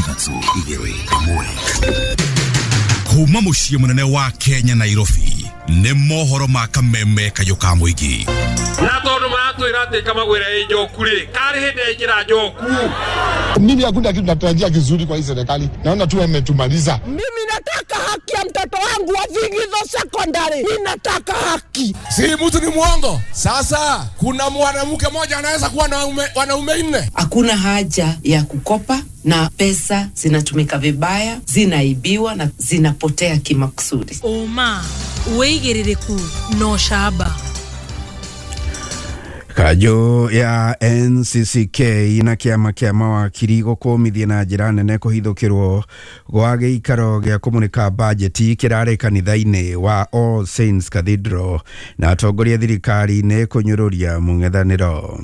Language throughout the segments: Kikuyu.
3 2 1. Kuma muciĩ mũnene wa Kenya Nairobi nĩ mohoro ma kameme kayũ ka mũingĩ. Na tondu maratwĩra atĩ kamagwĩra ĩ njoku rĩ, karĩ hĩndĩ yaingĩra njoku. Mimi hakuna kitu natarajia kizuri kwa hii serikali, naona tu wametumaliza. Mimi nataka haki ya mtoto wangu wa Thigitho Secondary, ninataka haki. Si mtu ni mwongo. Sasa kuna mwanamke mmoja anaweza kuwa na wanaume 4. Hakuna haja ya kukopa na pesa zinatumika vibaya, zinaibiwa na zinapotea kimakusudi. Oma wĩigĩrĩrĩku no shaba. Kanjũ ya NCCK na kĩama kĩa mawakiri gũkũmithia na njĩra nene kũhithũkĩrwo gwa gĩikaro gĩa kũmũrĩka bajeti kĩrarĩ kanitha-inĩ wa All Saints Cathedral na atongoria thirikari-inĩ kũnyũrũria mũng'ethanĩro.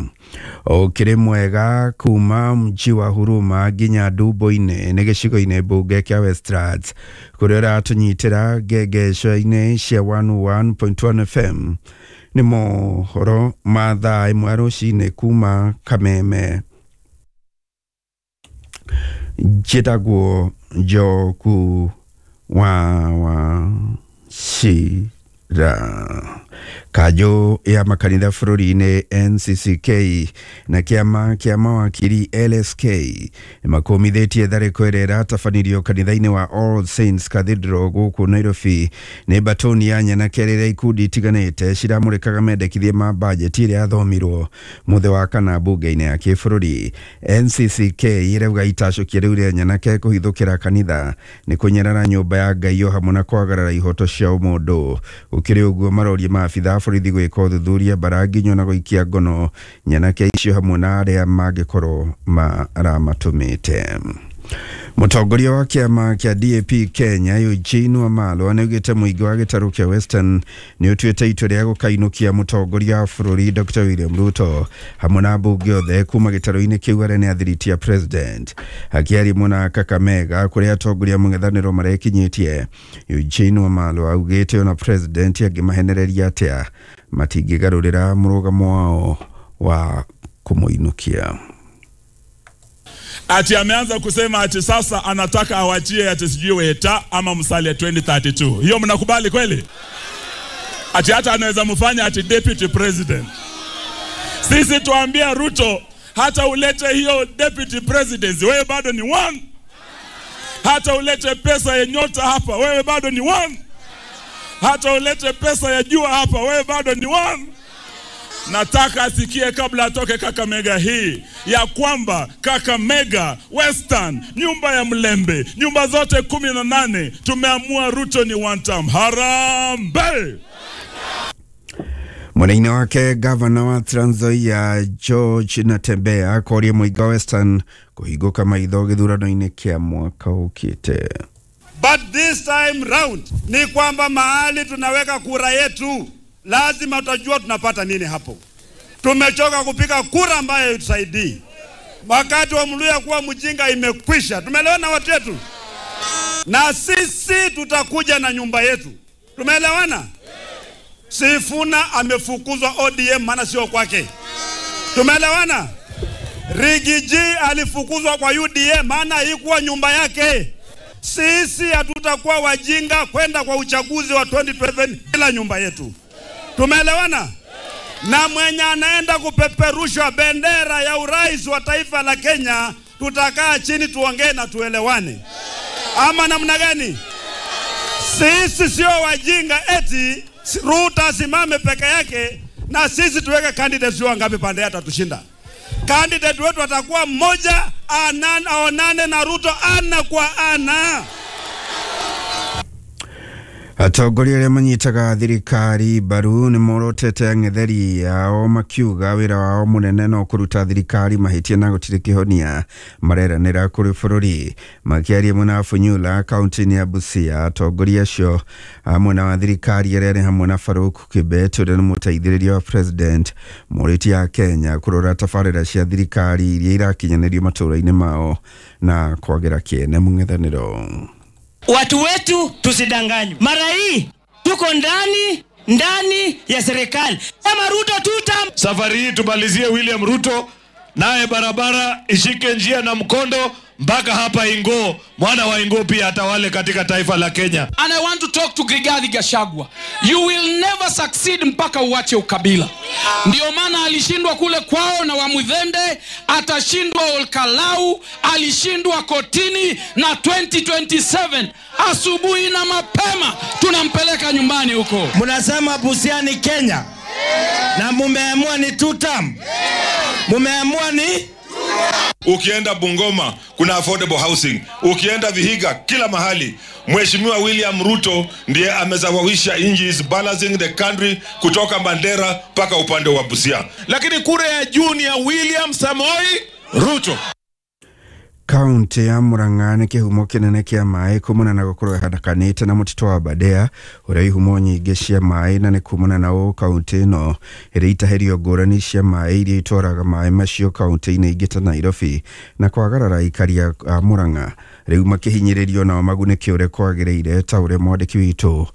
Ũkĩrĩ mwega kuma mji wa Huruma nginya Ndumbo-inĩ nĩ gĩcigo-inĩ mbunge kĩa Westlands kũrĩa ũratũnyitĩra ngengeco-inĩ cia 101.1 FM. Nĩ mohoro ma thaa 1 rũcinĩ kuma Kameme. Njĩtagwo Njoku wa Wachira. Kanjũ ya makanitha bũrũri-inĩ NCCK na kĩama kĩa mawakiri LSK nĩmakũmithĩtie tharĩko ĩrĩa ĩratabanirio kanitha-inĩ wa All Saints Cathedral gũkũ Nairobi nĩ mbatoni ya nyanake rĩrĩa ikundi itiganĩte ciramũrĩkaga mendekithia ma bajeti ĩrĩa yathomirwo mũthĩ wa kana mbunge-inĩ ya kĩbũrũri. NCCK ĩrauga itacũkia rĩu rĩa nyanake kũhithũkĩra kanitha nĩ kũnyarara nyũmba ya Ngai o hamwe na kwagarara ihoto cia ũmũndũ. Gũkĩrĩ ũguo maroria maabitha borithi gwĩka ũthuthuria mbaranginyo na gũikia ngono nyanake icio hamwe na arĩa mangĩkorwo maramatũmĩte. Mũtongoria wa kĩama kĩa DAP Kenya Eugene Wamalwa nĩaugĩte mũingĩ wa gĩtarũ kĩa Western nĩ ũtuĩte itua rĩa gũkainũkia mũtongoria wa bũrũri Dr. William Ruto hamwe na mbunge othe kuma gĩtarũ-inĩ kĩu arĩa nĩ athiriti a president. Akĩaria mwena Kakamega kũrĩa atongoria mũng'ethanĩro marekinyĩtie, Eugene Wamalwa augĩte ona president angĩmahenereria atĩa matingĩgarũrĩra mũrũgamo wao wa kũmũinũkia. Ati ameanza kusema ati sasa anataka awachie ati sijui Weta ama Musalia 2032. Hiyo mnakubali kweli? Ati hata anaweza mfanya ati deputy president. Sisi tuambia Ruto, hata ulete hiyo deputy presidency, wewe bado ni one. Hata ulete pesa ya nyota hapa, wewe bado ni one. Hata ulete pesa ya jua hapa, wewe bado ni one. Nataka asikie kabla atoke Kakamega hii ya kwamba Kakamega, Western, nyumba ya Mlembe, nyumba zote 18 tumeamua Ruto ni one term. Harambee! Mwena-inĩ wake gavana wa Trans Nzoia George Natembeya akoria mũingĩ wa Western kũhingũka maitho gĩthurano-inĩ kĩa mwaka ũkĩte. But this time round ni kwamba mahali tunaweka kura yetu lazima utajua tunapata nini hapo. Tumechoka kupiga kura ambayo haitusaidii. Wakati wa Mluya kuwa mjinga imekwisha. Tumeelewana watu wetu? Na sisi tutakuja na nyumba yetu. Tumeelewana? Sifuna amefukuzwa ODM maana sio kwake. Tumeelewana? Rigiji alifukuzwa kwa UDM maana haikuwa nyumba yake. Sisi hatutakuwa wajinga kwenda kwa uchaguzi wa 2027 bila nyumba yetu. Tumeelewana? Na mwenye anaenda kupeperusha bendera ya urais wa taifa la Kenya, tutakaa chini tuongee na tuelewane. Ama namna gani? Sisi sio wajinga eti Ruto asimame peke yake na sisi tuweke candidates wangapi pande atatushinda. Candidate wetu atakuwa mmoja, aonane na Ruto ana kwa ana. Atongoria arĩa manyitaga thirikari mbaru nĩ morotete ang'etheri ao makiuga wĩra wao mũnene no kũruta thirikari mahĩtia na gũtirĩ kĩhonia mareranĩra kũrĩ bũrũri. Makĩaria mwena Funyula kaunti-inĩ ya Busia, atongoria acio a mwena wa thirikari arĩa nĩ hamwe na Farouk Kibet ũrĩa nĩ mũteithĩrĩria wa president morĩtie a Kenya kũrora tabarĩra cia thirikari iria irakinyanĩrio matũũra-inĩ mao na kwagĩra kĩene mũng'ethanĩro. Watu wetu tusidanganywe. Mara hii tuko ndani ya serikali. Kama Ruto tuta. Safari hii tumalizie William Ruto, naye barabara ishike njia na mkondo. mpaka hapa Ingo, mwana wa Ingo pia atawale katika taifa la Kenya. And I want to talk to Rigathi Gachagua. You will never succeed mpaka uache ukabila. Ndio maana alishindwa kule kwao na Wamuthende, atashindwa Olkalau, alishindwa kotini, na 2027 asubuhi na mapema tunampeleka nyumbani huko. Mnasema Busia ni Kenya na mumeamua ni two term. Mumeamua ni Ukienda Bungoma kuna affordable housing, ukienda Vihiga, kila mahali. Mheshimiwa William Ruto ndiye amezawawisha nchi, is balancing the country kutoka Mandera mpaka upande wa Busia. Lakini kura ya juu ni ya William Samoei Ruto. Kaunti ya Murang'a nĩ kĩhumo kĩnene kĩa maĩ kumana na gũkorwo ĩhanakanĩte na mũtitũ wa Aberdare ũrĩa ihumo nyingĩ cia maĩ, na nĩ kumana na ũũ kaunti ĩno ĩrĩ itahĩrio ngũrani cia maĩ iria itwaraga maĩ macio kaunti-inĩ ingĩ ta Nairobi, na kwagarara aikari a Murang'a rĩu makĩhinyĩrĩrio nao magunĩke ũrĩa kwagĩrĩire, ta ũrĩa mwandĩki witũ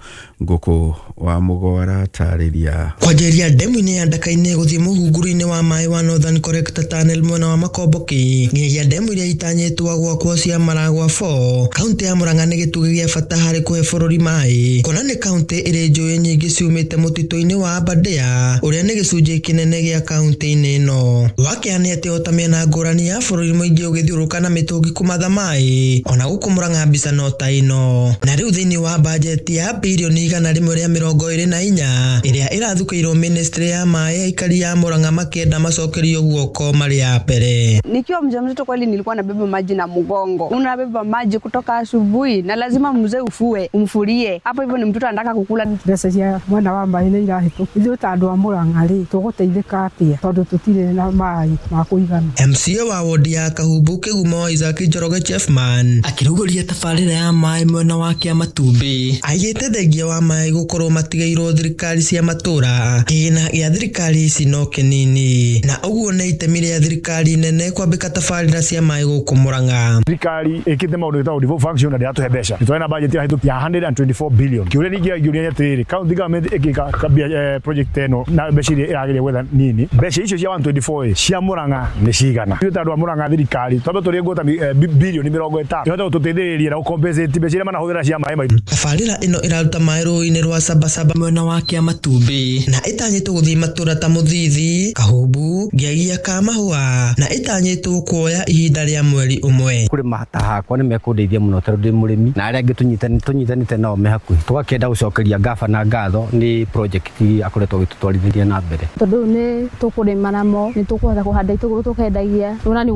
Ngũkũ wa Mũgo aratarĩria. Kwanjĩrĩria ndemu-inĩ ya Ndaka-inĩ gũthiĩ mũhunguru-inĩ wa maĩ wa Northern Collector Tunnel mwena wa Makomboki nginyagia ndemu iria itanyĩtwo gwakwo cia Maragwa 4, kaunti ya Murang'a nĩ gĩtugĩ gĩa bata harĩ kũhe bũrũri maĩ, kuona nĩ kaunti ĩrĩ njũĩ nyingĩ ciumĩte mũtitũ-inĩ wa Aberdare ũrĩa nĩ gĩcunjĩ kĩnene gĩa kaunti-inĩ ĩno. Wakĩa nĩ atĩ ota mĩena ngũrani ya bũrũri mũingĩ ũgĩthiũrũrũka na mĩtũngi kũmatha maĩ, ona gũkũ Murang'a mbica no ta ĩno. Na rĩu thĩinĩ wa bajeti ya birioni 124 ĩrĩa ĩrathukĩirwo ministry ya maĩ, aikari ya Murang'a makĩenda macokerio guoko marĩ ya mbere. Nikiwa mjamzito kweli nilikuwa nabeba maji na mgongo. Unabeba maji kutoka asubuhi na lazima mzee ufue, umfulie. Hapo hivyo ni mtoto anataka kukula. Mbeca cia mwena wa maĩ nĩ irahĩtũka. Ithuĩ ta andũ a Murang'a rĩ, tũgũteithĩka atĩa tondũ tũtirĩ na maĩ ma kũigana. MCA wa wodi ya Kahubu Kĩgumo Isaac Njoroge Chefman akĩrugũria tabarĩra ya maĩ mwena wa Kĩamatumbĩ aigĩte thengia wa maĩ gũkorwo matigĩirwo thirikari cia matũra, kĩgĩna gĩa thirikari ici no kĩnini, na ũguo nĩ itemi rĩa thirikari nene kwambĩka tabarĩra cia maĩ gũkũ Murang'a. Thirikari ĩkĩte maũndũ ĩtagwo devolved function na ndĩratũhe mbeca. Nĩ na budget ya 124 billion. Kĩũria ningĩ ngĩũria nĩ atĩrĩrĩ, county government ĩngĩka project ĩno na mbeca iria ĩragĩria gwetha nini, mbeca icio cia 124 cia Murang'a nĩ cigana? Ithuĩ ta andũ a Murang'a thirikari twambe tũrĩe ngũta bilioni 50 ĩhote gũtũteithĩrĩria na gũcompensate mbeca iria manahũthĩra cia maĩ maitũ. Tabarĩra ĩno ĩraruta maĩ rũĩ-inĩ rwa Sabasaba mwena wa Kĩamatumbĩ na ĩtanyĩtwo gũthiĩ matũra ta Mũthithi, Kahumbu, Ngiagia ka Mahũa, na ĩtanyĩtwo kuoya ihinda rĩa mweri ũmwe. Kũrĩma ta hakwa nĩ mekũndeithia mũno tondũ ndĩ mũrĩmi na arĩa angĩ tũnyitanĩte nao me hakuhĩ. Tũgakĩenda gũcokeria gavana ngatho nĩ project akoretwo agĩtũtwarithĩria na mbere. Tondũ nĩ tũkũrĩma namo, nĩ tũkũhota kũhanda itũngũrũ tũkendagia. Ona nĩ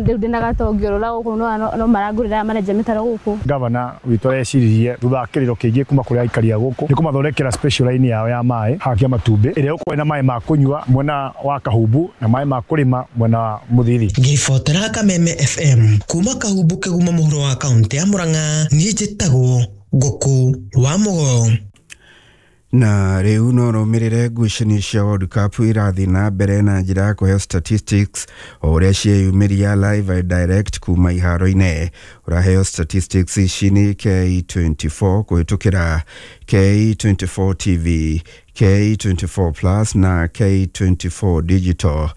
rĩu ndĩna gatongĩ gũkũ no marangũrĩra marenja mĩtaro gũkũ. Gavana witũ areciririe thutha wa kĩrĩro kĩingĩ kuma kũrĩ aikari a gũkũ nĩ kũmathondekera special line yao ya maĩ haha Kĩamatumbĩ ĩrĩa ĩgũkorwo ĩna maĩ ma kũnyua mwena wa Kahumbu na maĩ ma kũrĩma mwena wa Mũthithi. Ngĩribotera Kameme FM kuma Kahumbu Kĩgumo mũhuro wa kaunti ya Murang'a, niĩ njĩtagwo Ngũkũ wa Mũgo. Na rĩu no rũmĩrĩre ngucanio cia World Cup irathiĩ na mbere na njĩra ya kũheo statistics o ũrĩa cieyumĩria live and direct kuma iharo-inĩ. Ũraheo statistics ici nĩ K24 kũhĩtũkĩra K24 TV, K24 Plus na K24 Digital.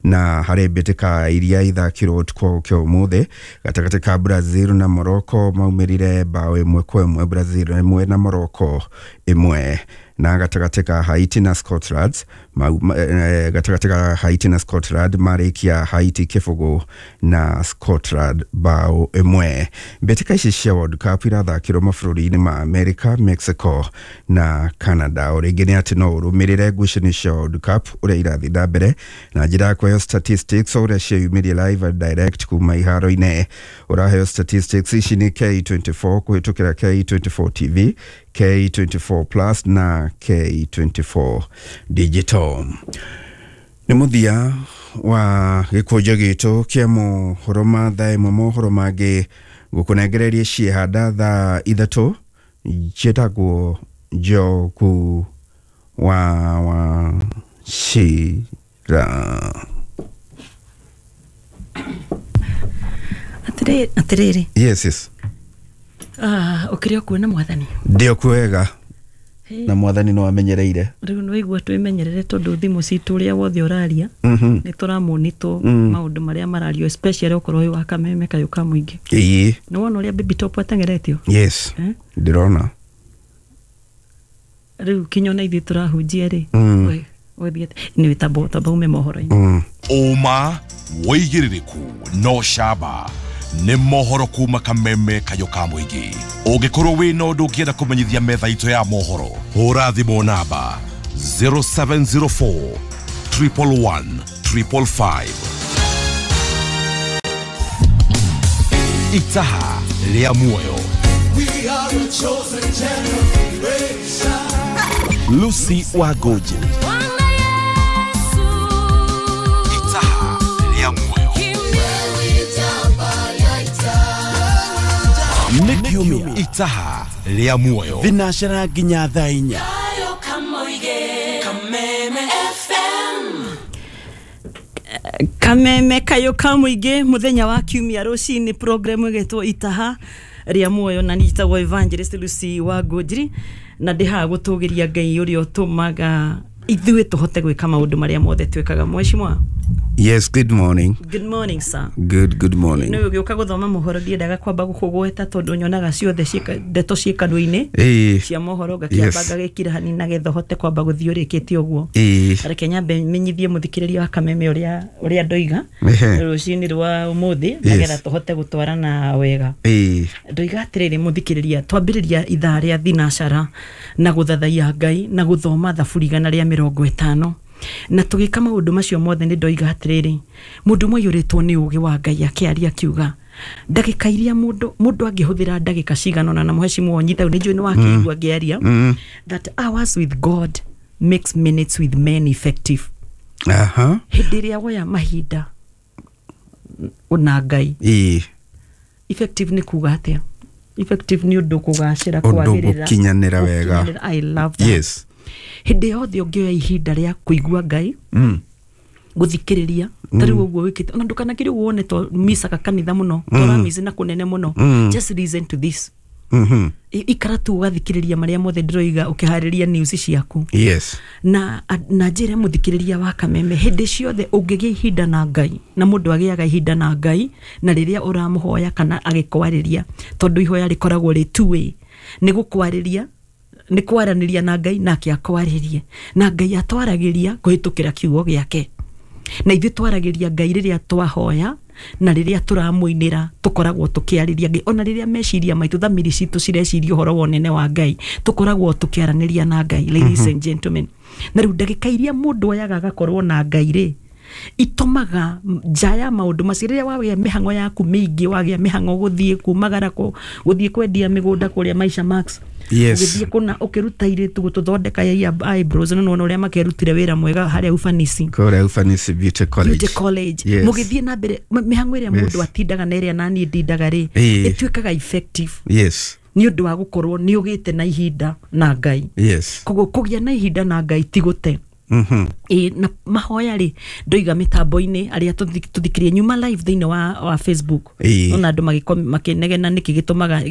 Na harĩ mbĩtĩka iria ithakirwo ũtukũ wa gũkĩa ũmũthĩ, gatagatĩ ka Brazil na Morocco maumĩrire bao 1-1, Brazil 1 na Morocco 1, na gatagatĩ ka Haiti na Scotland gatagatĩ ka Haiti na Scotland marĩkia Haiti 0 na Scotland bao 1. Mbĩtĩka ici cia World Cup irathakĩrwo mabũrũri-inĩ ma America, Mexico na Canada. O rĩngĩ nĩ atĩ no ũrũmĩrĩre ngucanio cia World Cup ũrĩa irathiĩ na mbere na njĩra ya kũheo statistics o ũrĩa cieyumĩria live and direct kuma iharo-inĩ. Ũraheo statistics ici nĩ K24 kũhĩtũkĩra K24 TV, K24 Plus na K24 Digital. Nĩ mũthia wa gĩkũnjo gitũ kĩa mohoro ma thaa ĩmwe, mohoro mangĩ gũkũnengereria ciehanda thaa 3 njĩtagwo Njogu wa Wachira. Atĩrĩrĩ. Yes, yes. Ũkĩrĩ o kuona mwathani? Ndĩ o kwega. Na mwathani no amenyereire. Rĩu nĩ waigua twĩmenyerere tondũ thimũ citũ ũrĩa wothe ũraria nĩ tũramonitwo maũndũ marĩa marario, especially okorwo wĩ wa Kameme kayũ ka mũingĩ. Ĩĩ. Nĩ wona ũrĩa Baby Top ateng'eretio? Yes. Eh? Ndĩrona. Rĩu kinya ona ithuĩ tũrahunjia rĩ, ũthiĩte nĩ tamba tamba ume mohoro-inĩ. Ũma, wĩigĩrĩrĩku no camba nĩ mohoro kuma Kameme kayũ ka mũingĩ. Ũngĩkorwo wĩna ũndũ ũngĩenda kũmenyithia metha itũ ya mohoro, hũra thimũ namba 0704 111 555. Itaha rĩa muoyo. We are a chosen generation. Lucy Wagoji. Itaha rĩa muoyo. Nĩ kiumia Itaha rĩa muoyo. Thinacera nginya thaa 4. Kameme kayũ ka mũingĩ mũthenya wa kiumia rũcinĩ, program ĩgetwo Itaha rĩa muoyo, na njĩtagwo Evangelist Lucy wa Ngũnjiri, na ndĩ haha gũtũgĩria Ngai ũrĩa ũtũmaga ithuĩ tũhote gwĩka maũndũ marĩa mothe twĩkaga. Mheshimiwa. Yes, good morning. Good morning, sir. Good morning. Nĩ ũgĩũka gũthoma mohoro, ndiendaga kwamba gũkũgweta tondũ nyonaga ciothe ndeto ciĩ kanua-inĩ cia mohoro, ngakĩamba ngagĩkira hanini nagetha hote kwamba gũthiĩ ũrĩkĩtie ũguo. Reke nyambe menyithie mũthikĩrĩria wa Kameme ũrĩa ndoiga rũcinĩ rwa ũmũthĩ, nagetha tũhote gũtwarana wega. Ndoiga atĩrĩrĩ mũthikĩrĩria, twambĩrĩria ithaa rĩa thinacara na gũthathaiya Ngai na gũthoma Thaburi 150, na tũgĩka maũndũ macio mothe nĩ ndoiga atĩrĩrĩ, mũndũ mũiyũrĩtwo nĩ ũgĩ wa Ngai akĩaria akiuga ndagĩka iria mũndũ angĩhũthĩra ndagĩka cigana ũna, na mũhecimu nyita nĩ njũĩ nĩ wakĩigua ngĩaria, that hours with God makes minutes with men effective. Hĩndĩ ĩrĩa woya mahinda na Ngai, effective nĩ kuga atĩa? Effective nĩ ũndũ kũgacĩra, kwagĩrĩra, gũkinyanĩra wega. I love that. Yes. Hĩndĩ yothe ũngĩoya ihinda rĩa kũigua Ngai, gũthikĩrĩria, ta rĩu ũguo wĩkĩte, ona ndũkanakĩre ũguo wone to micaga kanitha mũno, tũramici na kũnene mũno, just listen to this. Ikara tu ũgathikĩrĩria marĩa mothe ndĩroiga ũkĩharĩria news ciaku. Yes. Na njĩre mũthikĩrĩria wa Kameme, hĩndĩ ciothe ũngĩgĩa ihinda na Ngai, na mũndũ agĩaga ihinda na Ngai na rĩrĩa ũramũhoya kana agĩkwarĩria, tondũ ihoya rĩkoragwo rĩ two way, nĩ gũkwarĩria, nĩ kwaranĩria na Ngai nake akwarĩrie, na Ngai atwaragĩria kũhĩtũkĩra kiugo gĩake, na ithuĩ twaragĩria Ngai rĩrĩa twahoya na rĩrĩa tũramũinĩra, tũkoragwo tũkĩarĩria Ngai, ona rĩrĩa meciria maitũ, thamiri citũ cireciria ũhoro wa ũnene wa Ngai, tũkoragwo tũkĩaranĩria na Ngai. Ladies and gentlemen, na rĩu ndagĩka iria mũndũ oyaga agakorwo na Ngai rĩ, itomaga nja ya maũndũ macio. Rĩrĩa wagĩa mĩhang'o yaku mĩingĩ, wagĩa mĩhang'o gũthiĩ kumagara, gũthiĩ kwendia mĩgũnda kũrĩa Maisha Max, Yes. ũgĩthiĩ kũna ũkĩruta irĩtu gũtũthondeka eyebrows, no nĩwona ũrĩa makĩrutire wĩra mwega harĩa Ufanisi, Kũrĩa Ufanisi Beauty College. Beauty College. Yes. Mũgĩthiĩ na mbere mĩhang'o ĩrĩa mũndũ atindaga na ĩrĩa naniĩ ndindaga rĩ, ĩtuĩkaga effective. Yes. Nĩ ũndũ wa gũkorwo nĩ ũgĩte na ihinda na Ngai. Yes. Koguo kũgĩa na ihinda na Ngai ti gũte. Na mahoya rĩ, ndoiga mĩtambo-inĩ arĩa tũthikĩrĩrie nyuma live thĩinĩ wa Facebook, ona andũ makĩnegena nĩkĩ gĩtũmaga